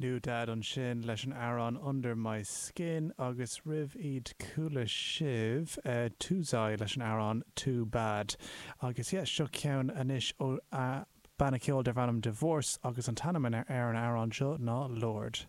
NewDad ansin leis an amhrán Under My Skin agus roimh iad chuala sibh Tuzai leis an amhrán Too Bad. Agus yeah, seo ceann anois ó banna ceoil darb ainm Divorce agus an t-ainm ar an amhrán seo ná Lord.